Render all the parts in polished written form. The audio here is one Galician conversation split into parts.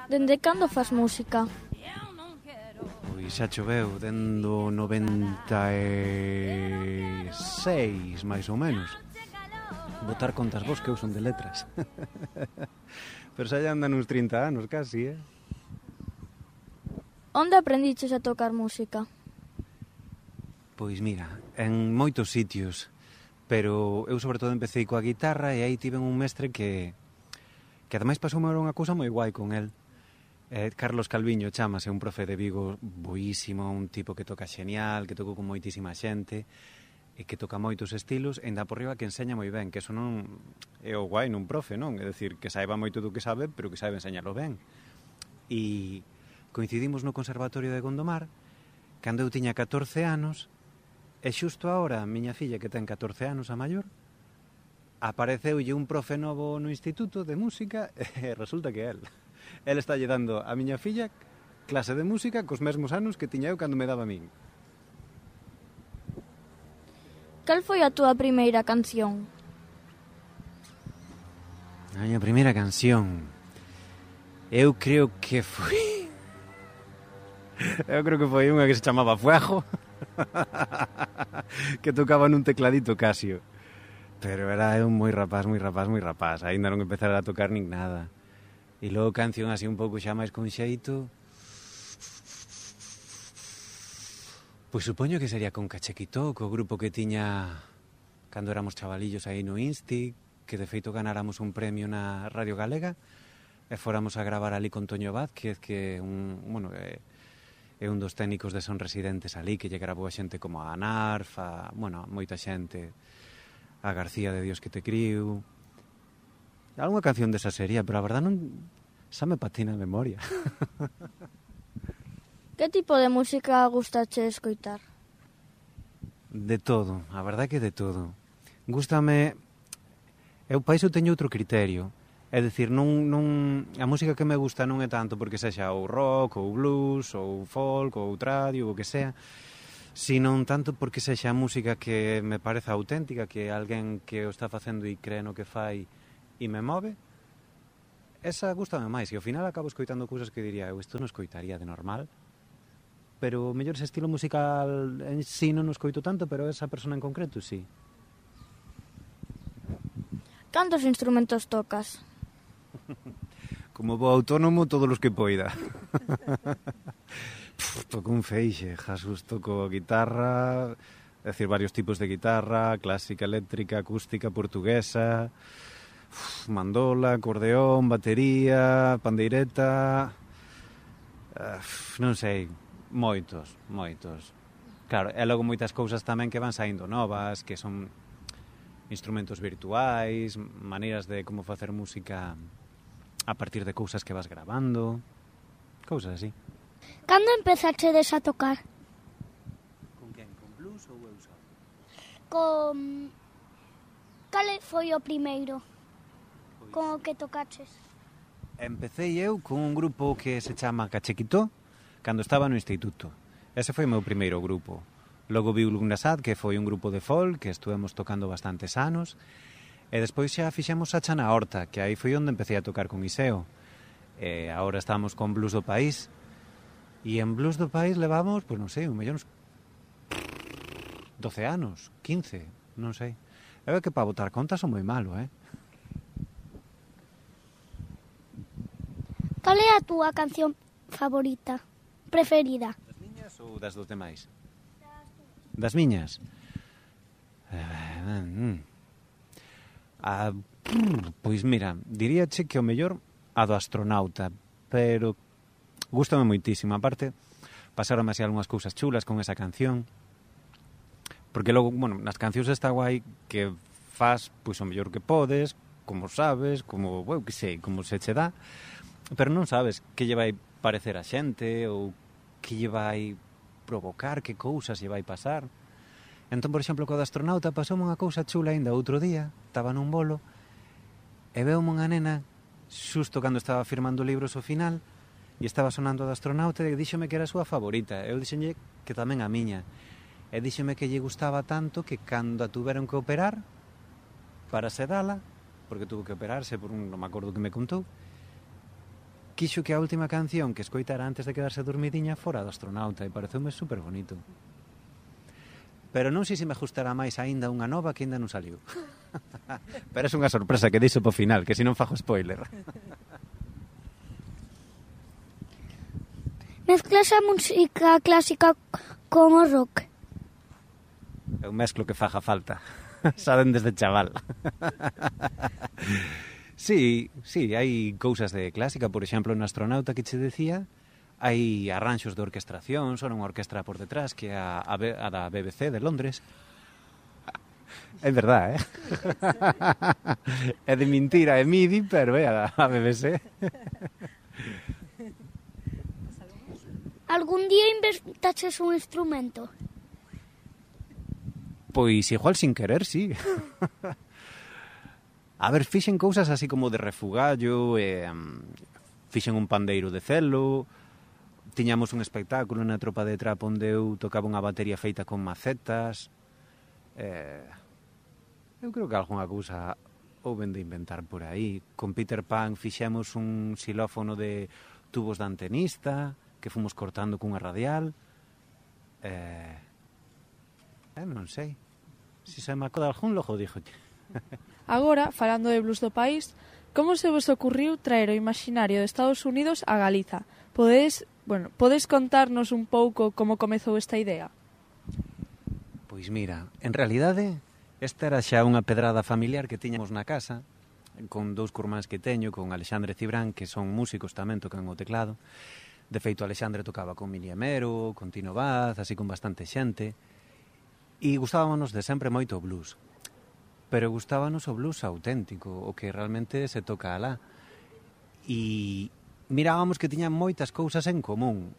Dende cando fas música? Pois xa choveu dendo 96, máis ou menos. Botar contas vos que eu son de letras. Pero xa andan uns 30 anos casi, eh? Onde aprendiches a tocar música? Pois mira, en moitos sitios. Pero eu sobre todo empecé coa guitarra e aí tive un mestre que ademais pasoume unha cousa moi guai con el. Carlos Calviño chamase, un profe de Vigo boísimo, un tipo que toca xenial, que tocou con moitísima xente e que toca moitos estilos, e ainda por riba que enseña moi ben, que eso non é o guai nun profe, non? É dicir, que saiba moito do que sabe, pero que saiba enseñalo ben. E coincidimos no Conservatorio de Gondomar cando eu tiña 14 anos e xusto agora a miña filla, que ten 14 anos, a maior, apareceulle un profe novo no instituto de música e resulta que é el. El está lle dando a miña filla clase de música cos mesmos anos que tiña eu cando me daba a min. Cal foi a túa primeira canción? A miña primeira canción, eu creo que foi unha que se chamaba Fuego, que tocaba nun tecladito Casio. Pero era eu moi rapaz. Aínda non empezara a tocar nin nada. E logo canción así un pouco xa máis con xeito, pois supoño que sería con Cachequitó, co grupo que tiña cando éramos chavalillos aí no Insti, que de feito ganáramos un premio na Radio Galega e fóramos a gravar ali con Toño Vázquez, que é un dos técnicos de Son Residentes ali, que lle grabou a xente como a Narf, moita xente, a García de Dios que te criu. Algunha canción desa serie, pero a verdade non xa me patina a memoria. Que tipo de música gustache escoitar? De todo, a verdade que de todo. Gústame... Eu pa iso teño outro criterio. É dicir, a música que me gusta non é tanto porque sexa ou rock, ou blues, ou folk, ou tradio, ou o que sea, sino tanto porque sexa música que me pareza auténtica, que alguén que o está facendo e cree no que fai e me move, esa gustame máis, e ao final acabo escoitando cousas que diría eu, isto non escoitaría de normal, pero mellor ese estilo musical en sí non o escoito tanto, pero esa persona en concreto sí. Cantos instrumentos tocas? Como bo autónomo, todos os que poida. Toco un feixe, Jesús, toco guitarra, é dicir, varios tipos de guitarra, clásica, eléctrica, acústica, portuguesa, mandola, acordeón, batería, pandeireta, non sei, moitos. Claro, e logo moitas cousas tamén que van saindo novas, que son instrumentos virtuais, maneiras de como facer música a partir de cousas que vas grabando, cousas así. Cando empezachedes a tocar? Con quen? Con blues ou eu só? Con... Cal foi o primeiro? Con o que tocaches? Empecei eu con un grupo que se chama Cachequitó, cando estaba no instituto. Ese foi o meu primeiro grupo. Logo vi Lugnasad, que foi un grupo de folk, que estuvemos tocando bastantes anos, e despois xa fixemos a Chana Horta, que aí foi onde empecé a tocar con Iseo. E agora estamos con Blues do País, e en Blues do País levamos, pois non sei, un mellón 12 anos, 15, non sei. É que para botar contas son moi malo, eh? Cal é a túa canción favorita, preferida? Das miñas ou das dos demais? Das miñas? Pois mira, diríache que o mellor a do Astronauta, pero gústame moitísimo. Aparte, pasaronme así algunhas cousas chulas con esa canción, porque logo, nas cancións está guai que faz, pois, o mellor que podes, como sabes, como, que sei, como se che dá, pero non sabes que lle vai parecer a xente ou que lle vai provocar, que cousas lle vai pasar. Entón, por exemplo, co do Astronauta pasoume unha cousa chula ainda outro día, estaba nun bolo e veume unha nena xusto cando estaba firmando libros ao final e estaba sonando do Astronauta e díxome que era a súa favorita. Eu díxenlle que tamén a miña, e díxeme que lle gustaba tanto que cando a tuveron que operar para sedala, porque tuvo que operarse por non me acordo que me contou, quixo que a última canción que escoitara antes de quedarse dormidiña fora do astronauta e pareceume super bonito. Pero non sei se me gustará máis aínda unha nova que aínda non saliu. Pero é unha sorpresa que deixo po final, que se non fago spoiler. Mezclas a música clásica con o rock. Eu mezclo que faga falta. Saben desde chaval. Sí, hai cousas de clásica. Por exemplo, no astronauta que che decía, hai arranxos de orquestración, son unha orquestra por detrás que é a da BBC de Londres. É verdad, é de mentira, é MIDI, pero é a BBC. Algún día inventaches un instrumento? Pois igual sin querer, sí. A ver, fixen cousas así como de refugallo, fixen un pandeiro de celo, tiñamos un espectáculo na tropa de trap onde eu tocaba unha batería feita con macetas. Eu creo que algunha cousa houben de inventar por aí. Con Peter Pan fixemos un xilófono de tubos de antenista que fomos cortando cunha radial. Non sei. Se se me acoda algún, logo dixolle. Agora, falando de blues do país, como se vos ocurriu traer o imaginario de Estados Unidos a Galiza? Podes contarnos un pouco como comezou esta idea? Pois mira, en realidade, esta era xa unha pedrada familiar que tiñamos na casa, con dous curmáns que teño, con Alexandre Cibrán, que son músicos tamén, tocan o teclado. De feito, Alexandre tocaba con Mili Amero, con Tino Vaz, así con bastante xente. E gustábamos de sempre moito o blues. Pero gustábanos o blues auténtico, o que realmente se toca alá. E mirábamos que tiñan moitas cousas en común.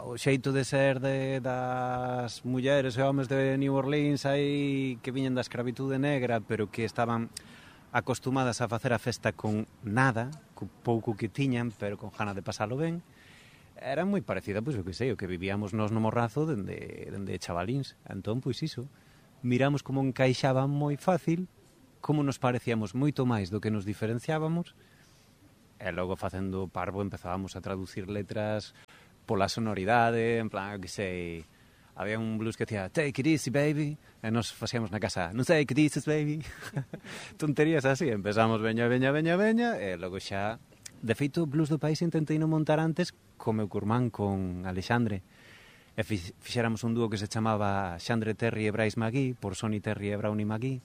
O xeito de ser das mulleres e homes de New Orleans aí que viñen da escravitude negra, pero que estaban acostumadas a facer a festa con nada, co pouco que tiñan, pero con gana de pasalo ben. Era moi parecida, pois, o que sei, o que vivíamos nos no Morrazo dende chavalíns. Entón, pois iso, miramos como encaixaba moi fácil, como nos parecíamos moito máis do que nos diferenciábamos, e logo facendo parvo empezábamos a traducir letras pola sonoridade, en plan, que sei, había un blues que decía "Take it easy, baby", e nos facíamos na casa "No take it easy, baby". Tonterías así, empezamos veña, e logo xa. De feito, Blues do País intentei non montar antes co meu curmán, con Alexandre. E fixéramos un dúo que se chamaba Xandre Terry e Bryce McGee, por Sonny Terry e Brownie McGee.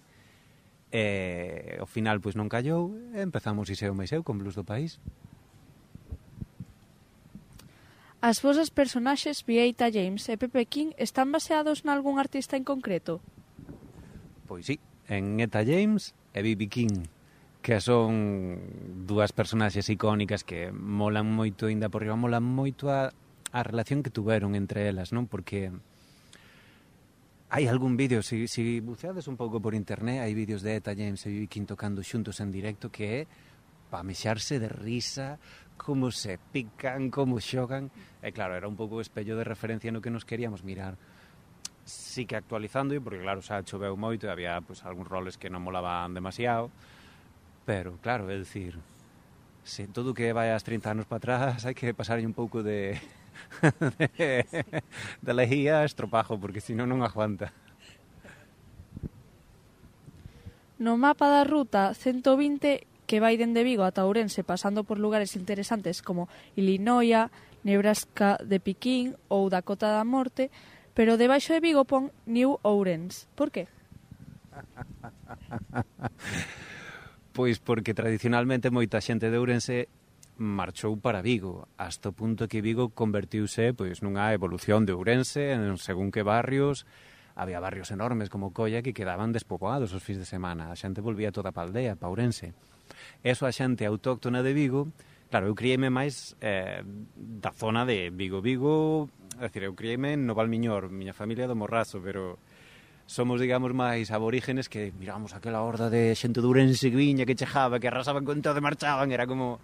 E ao final, pois non callou, e empezamos Iseo máis eu con Blues do País. As vosas personaxes, Vieita James e Pepe King, están baseados nalgún artista en concreto? Pois sí, en Eta James e B.B. King, que son dúas personaxes icónicas que molan moito, ainda por riba, molan moito a relación que tuveron entre elas, non? Porque hai algún vídeo, se buceades un pouco por internet, hai vídeos de Eta James e B.B. King tocando xuntos en directo que é pa mexarse de risa, como se pican, como xogan. E claro, era un pouco o espello de referencia no que nos queríamos mirar. Sí que actualizando, porque claro, xa choveu moito e había pues, algúns roles que non molaban demasiado. Pero, claro, é dicir, se todo que vai as 30 anos para atrás hai que pasarlle un pouco de lejía a estropajo, porque senón non aguanta. No mapa da ruta 120, que vai dende Vigo ata Ourense, pasando por lugares interesantes como Illinois, Nebraska de Piquín ou Dakota da Morte, pero debaixo de Vigo pon New Ourense. Por qué? Pois porque tradicionalmente moita xente de Ourense marchou para Vigo, hasta o punto que Vigo convertiuse pois, nunha evolución de Ourense, en según que barrios. Había barrios enormes como Colla que quedaban despoboados os fins de semana. A xente volvía toda pa aldea, pa Ourense. Eso a xente autóctona de Vigo, claro, eu criei-me máis da zona de Vigo. É dicir, eu criei-me no Valmiñor, miña familia do Morrazo, pero somos, digamos, máis aborígenes que miramos aquela horda de xente de Ourense que viña, que chejaba, que arrasaban con todo e marchaban. Era como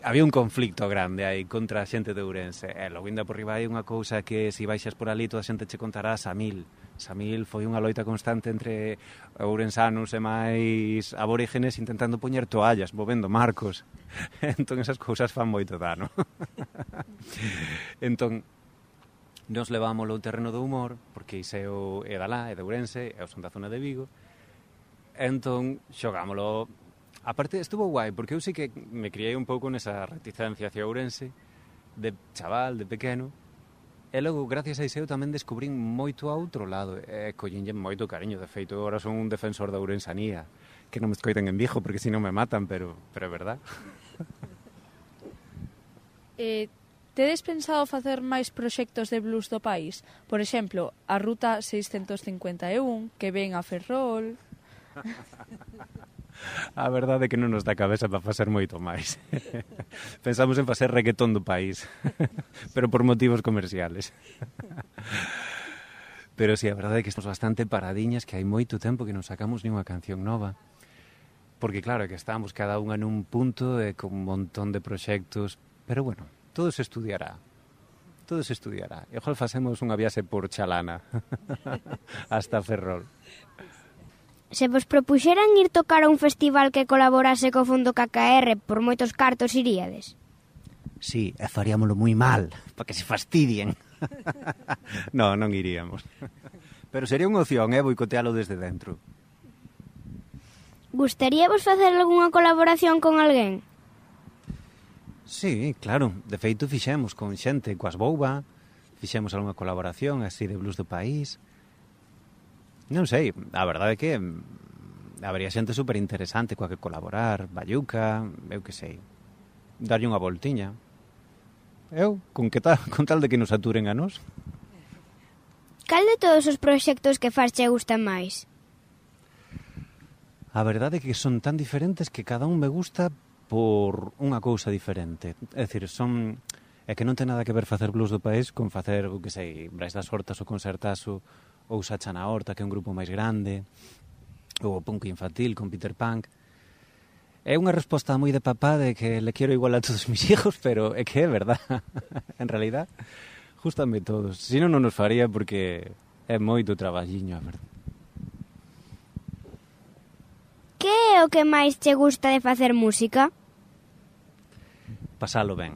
había un conflicto grande aí contra a xente de Ourense. E logo ainda por riba hai unha cousa que se baixas por ali toda a xente che contarás a 1000. Samil foi unha loita constante entre ourensanos e máis aborígenes intentando poñer toallas, movendo marcos. Entón esas cousas fan moito dano. Entón, nos levámoslo ao terreno do humor, porque Iseo é da lá, é de Ourense, eu son da zona de Vigo. Entón, xogámoslo. Aparte, estuvo guai, porque eu sí que me criei un pouco nesa reticencia hacia Ourense, de chaval, de pequeno. E logo, gracias a Iseo, tamén descubrín moito a outro lado. E collinlle moito cariño. De feito, agora son un defensor da ourensanía. Que non me escoiten en Vigo, porque si non me matan, pero é verdad. Tedes pensado facer máis proxectos de blues do país? Por exemplo, a Ruta 651, que ven a Ferrol... A verdade é que non nos dá cabeza para facer moito máis. Pensamos en facer reggaetón do país, pero por motivos comerciales. Pero sí, a verdade é que estamos bastante paradiñas, que hai moito tempo que non sacamos ni unha canción nova. Porque claro, que estamos cada unha nun punto e con un montón de proxectos, pero bueno, todo se estudiará. Todo se estudiará. E igual facemos unha viaxe por Chalana hasta Ferrol. Se vos propuxeran ir tocar a un festival que colaborase co Fondo KKR, por moitos cartos iríades? Sí, e faríamolo moi mal, para que se fastidien. No, non iríamos. Pero sería unha opción, boicotealo desde dentro. Gustaríavos facer algunha colaboración con alguén? Sí, claro. De feito, fixemos con xente coas Bouba, fixemos algunha colaboración así de blues do país. Non sei, a verdade é que habería xente superinteresante coa que colaborar, Bayuca, eu que sei, darlle unha voltiña. Eu, con tal de que nos aturen a nós. Cal de todos os proxectos que faz che gusta máis? A verdade é que son tan diferentes que cada un me gusta por unha cousa diferente. É dicir, é que non ten nada que ver facer blues do país con facer, que sei, Brais das Hortas ou Concertazo, ou Sacha na Horta, que é un grupo máis grande, ou o punk infantil con Peter Punk. É unha resposta moi de papá de que le quero igual a todos mis hijos, pero é que é verdad. En realidad, justame todos. Si non nos faría porque é moito traballiño, a verdad. Que é o que máis che gusta de facer música? Pasalo ben.